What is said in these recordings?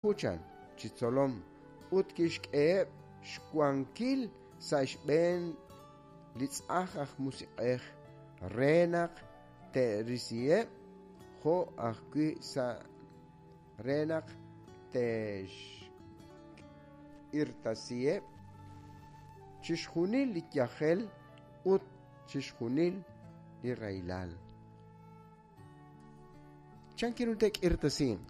Chan chi tzolom ut kixk'eheb' xwankil sa' xb'een li tz'aj aj musiq'ej re naq te'risiheb' jo' ajwi' sa' re naq te'xk'irtasiheb' chixjunil li yajel ut chixjunil li rahilal. Chan kiru te'k'irtasinq?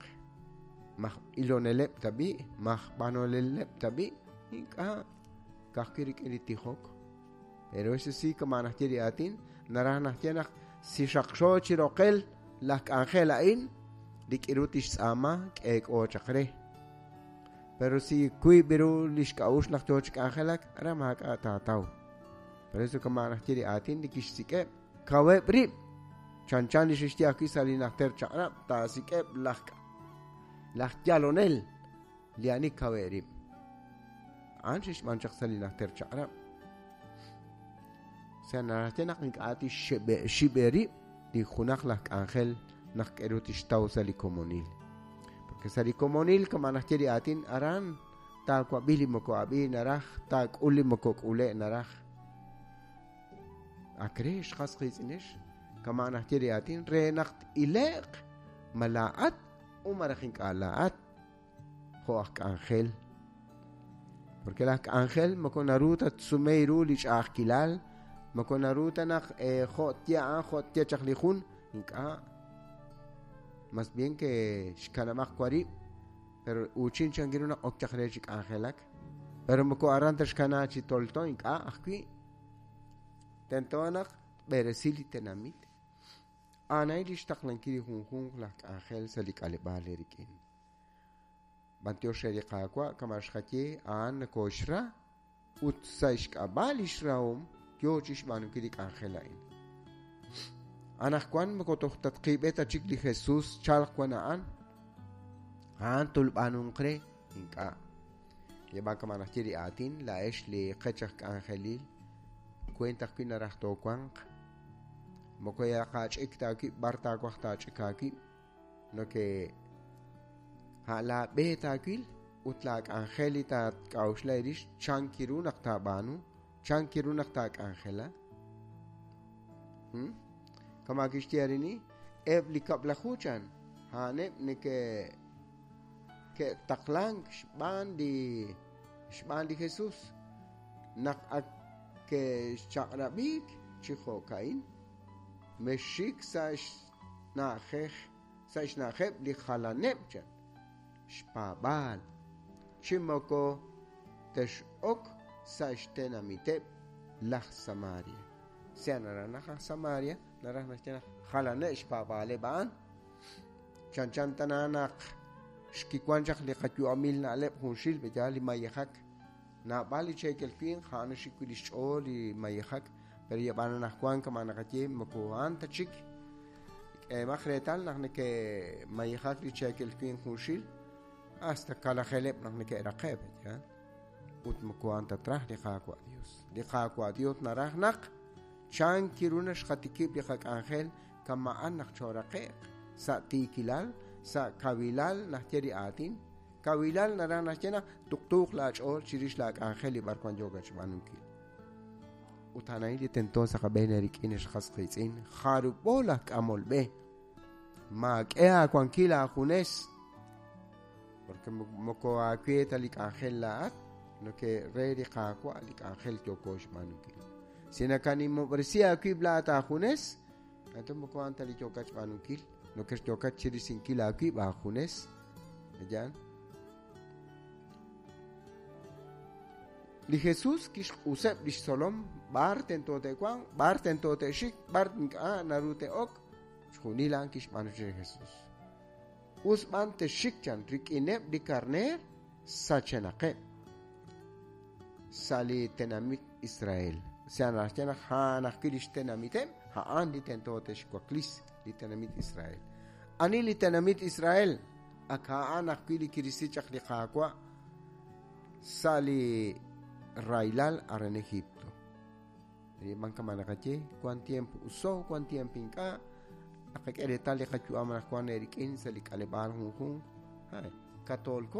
Maj iloneleb' tab'i', maj b'anoleleb' tab'i', ink'a' ka'ajwi' rik'in li tijok. Pero ese sí kama' najye li aatin, naraj najye naq si xaqxo chi roqel laj k'anjel a'in, li k'iru tixtz'aama k'eek'o chaq re. Pero si wiib' ru li xk'a'uxl naq yoo chi k'anjelak, aran maak'a' taataw. Por eso kama' najye li aatin li kixsik'eb', Kaweb' rib', chanchan li xexye ajwi' sa' li Najter Chaq'rab', taasik'eb' laj laj yalonel li ani kaweb' rib'. A'an xe'xb'aan chaq sa' li Najter Chaq'rab'. Sa' naraj naq ink'a' tixxib'e rib' li junaq laj k'anjel naq k'eru tixtaw sa' li komonil. Porque sa' li komonil, kama' najye li aatin, aran taawab'i li moko ab'i naraj, taak'ul li moko k'ule' naraj. Ak re xqas qiitz'inex, kama' najye li aatin re naq t-ile'q ma laa'at u malaj ink'a' laa'at jo' aj k'anjel. Porque laj k'anjel moko naru ta tsume ru li ch'a'ajkilal, moko naru ta naq jo' tye a'an, jo' tye chaq li jun, ink'a'. Mas bien que xkanab'aq warib', pero uuchin chan ru naq ok chaq re chi k'anjelak. Pero moko aran ta xkana chi tolto, ink'a' ajwi'. Tento naq tb'eresi li tenamit. A'an li xtaqlankil li junjunq laj k'anjel sa' li k'aleb'aal rik'in. B'antiox re li Qaawa' kama' xqaye a'an nakooxra ut sa' xk'ab'a' li xrahom yoo chi xb'aanunkil li k'anjel a'in. Anaqwan moko toj tatqiib'e ta chik li Jesus chalq wan a'an. A'an tolb'aanunq re ink'a'. Yeb'an kama' najye li aatin, laa'ex li qech aj k'anjelil, kueent ajwi' naraj toowanq. Moko yaqaach'ik ta aawib' b'ar taawaj taach'ik aawib', no que a' laab'e taawil ut laak'anjel li taak'a'uxla rix chan kiru naq taab'aanu, chan kiru naq taak'anjela. Kama' kixye arini, eb' li kab'laju chan, a'aneb' neke ke'taqlank xb'aan li xb'aan li Jesus naq ak ke'xchaq'rab'iik chi jo'ka'in, mexxik sa' xna'ajej sa' xna'ajeb' li jalaneb' chan xpaab'aal, chi moko tex'ok sa' xtenamiteb' laj Samaria. Sea naraj naq aj Samaria, naraj naxye naq jalaneb' xpaab'aaleb' a'an. Chanchan tana naq xkiwan chaq li qayu'amil na'leb' junxil b'eyaal li mayejak. Naab'al li cheekel winq a'an xik wi' li xch'ool li mayejak, pero yab'an anaqwan kama' naqaye moko a'an ta chik. K'eemaq reetal naq neke'mayejak li cheekel winq junxil hasta kalajeleb' naq neke'raqe' b'eyaal. Ut moko a'an ta traj li Qaawa' Dios. Li Qaawa' Dios naraj naq chan kiru naxqatikib' li qak'anjel kama'an naq chooraqe'q sa' tiikilal, sa' kawilal najye li aatin. Kawilal naraj naxye naq tuqtuuq laach'ool chirix laak'anjel li b'arwan yookat xb'aanunkil. Ut a'an a'in li tento sa' qab'een eerik'in ex qas qiitz'in, jarub'o laj k'amol b'e. Maak'e aawankil aajunes, porque moko aawe ta li k'anjel laa'at, no que re li Qaawa' li k'anjel yooko xb'aanunkil. Si nakanimob'resi aawib' laa'at aajunes, anto moko a'an ta li yookat xb'aanunkil, no que yookat chirisinkil aawib' aajunes. Ayan. Li Jesus kixq'useb' lix tzolom b'ar tento te'wanq, b'ar tento te'xik, b'ar ink'a' naru te'ok, xjunil a'an kixb'aanu chi li Jesus. Us b'an texxik chan rik'ineb' li karneer sachenaqeb' sa' li tenamit Israel. Sea naxye naq a'an ajwi' lix tenamiteb', a'an li tento te'xwaklis li tenamit Israel. Ani li tenamit Israel? Ak a'an ajwi' li kirisi chaq li Qaawa' sa' li rahilal aran Egipto. B'an kama' naqaye, wan tiempo uso, wan tiempo ink'a'. Naqak'e reetal li qayu'am anaqwan eerik'in sa' li k'aleb'aal junjunq. Katoolko.